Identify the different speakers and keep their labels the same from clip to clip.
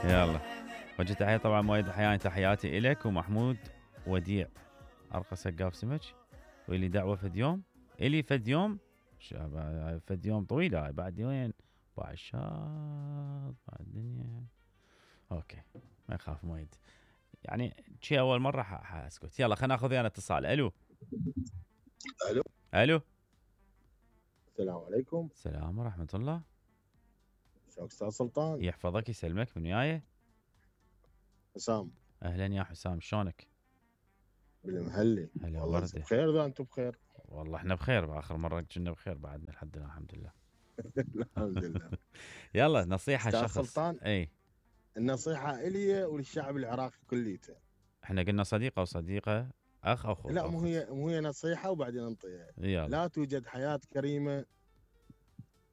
Speaker 1: يلا وجه تحية طبعا مؤيد الحياني، تحياتي إلك ومحمود وديع أرقى سقاف سمك، واللي دعوة فد يوم إلي فد يوم فد يوم طويلة هاي بعد وين بعد الشاط بعد الدنيا. اوكي ما يخاف مؤيد يعني شي اول مرة حاسكت. يلا خلينا ناخذ انا اتصال. الو
Speaker 2: الو
Speaker 1: الو
Speaker 2: السلام عليكم.
Speaker 1: السلام ورحمة الله.
Speaker 2: شلونك استاذ سلطان؟
Speaker 1: يحفظك يسلمك. من وياي؟
Speaker 2: حسام.
Speaker 1: اهلا يا حسام شلونك؟
Speaker 2: بالمهلي.
Speaker 1: هلا
Speaker 2: والله
Speaker 1: وردة.
Speaker 2: بخير اذا انتم بخير.
Speaker 1: والله احنا بخير، باخر مرة كنا بخير بعدنا الحمد لله. الحمد لله
Speaker 2: الحمد لله.
Speaker 1: يلا نصيحة
Speaker 2: استاذ
Speaker 1: شخص.
Speaker 2: سلطان
Speaker 1: اي
Speaker 2: النصيحة الي وللشعب العراقي كليته.
Speaker 1: احنا قلنا صديقة وصديقة اخ او اخو.
Speaker 2: لا مو هي نصيحة وبعدين انطيها.
Speaker 1: يلا.
Speaker 2: لا توجد حياة كريمة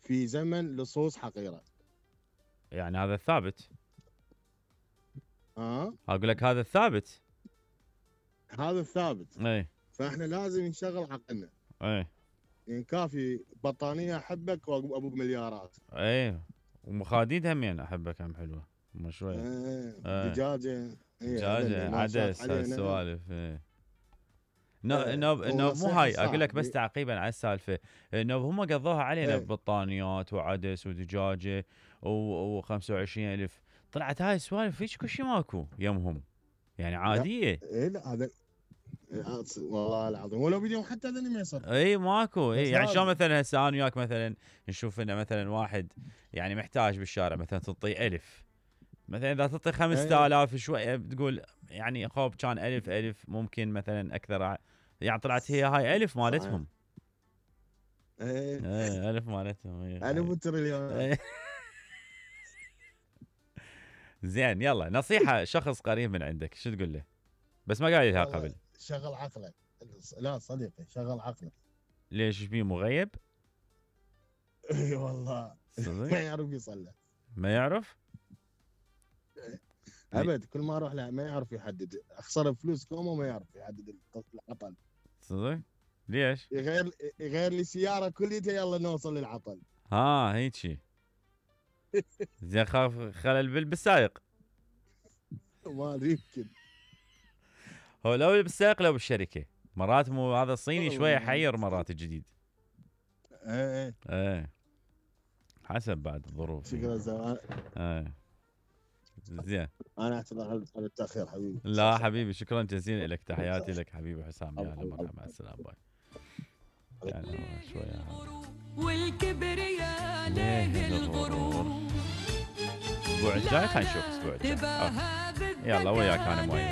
Speaker 2: في زمن لصوص حقيرة.
Speaker 1: يعني هذا الثابت.
Speaker 2: اقول
Speaker 1: لك هذا الثابت.
Speaker 2: هذا الثابت.
Speaker 1: اي
Speaker 2: فاحنا لازم نشغل عقلنا.
Speaker 1: اي
Speaker 2: يعني كافي بطانية احبك وابو مليارات.
Speaker 1: اي ومخاديد همين احبك هم حلوة مو شوية.
Speaker 2: دجاجة.
Speaker 1: دجاجة عدس هالسوالف. نوب مو هاي اقول لك بس تعقيبا على السالفه. نوب هم قضوها علينا ببطانيات وعدس ودجاجه و25,000 طلعت هاي السوالف هيك كل شيء ماكو يمهم يعني عاديه.
Speaker 2: لا هذا والله العظيم ولو بديهم حتى هذول ما يصير.
Speaker 1: اي ماكو. اي يعني شلون مثلا هسه انا وياك مثلا نشوف انه مثلا واحد يعني محتاج بالشارع مثلا تعطيه 1000 مثلا، اذا تعطي 5000 شويه بتقول يعني خوب كان 1000 ممكن مثلا اكثر يعني طلعت هي هاي 1000 مالتهم. ايه 1000 مالتهم.
Speaker 2: 1000 تريليون.
Speaker 1: زين يلا نصيحة شخص قريب من عندك شو تقول له؟ بس ما قايل لها قبل.
Speaker 2: شغل عقلك. لا صديقي شغل عقلك.
Speaker 1: ليش بيه مغيب؟
Speaker 2: اي والله ما يعرف يصلح.
Speaker 1: ما يعرف؟
Speaker 2: ابد كل ما اروح له ما يعرف يحدد. اخسر فلوس كومه ما يعرف يحدد العطل.
Speaker 1: صدق؟ ليش؟
Speaker 2: يغير لي سياره كليتها يلا نوصل للعطل.
Speaker 1: هيجي. زين خاف خلل بالسائق.
Speaker 2: ما ادري يمكن.
Speaker 1: هو لو بالسائق لو بالشركه مرات مو هذا الصيني شويه حير مرات الجديد. ايه حسب بعد الظروف.
Speaker 2: شكرا زمان.
Speaker 1: زين
Speaker 2: انا اعتذر عن التاخير حبيبي.
Speaker 1: لا حبيبي شكرا جزيلا لك. تحياتي لك حبيبي حسام. يا هلا مرحبا مع السلامه باي. يعني شويه
Speaker 3: والكبرياء ليه الغرور.
Speaker 1: الاسبوع الجاي خلينا نشوف الاسبوع الجاي. يلا وياك انا مؤيد.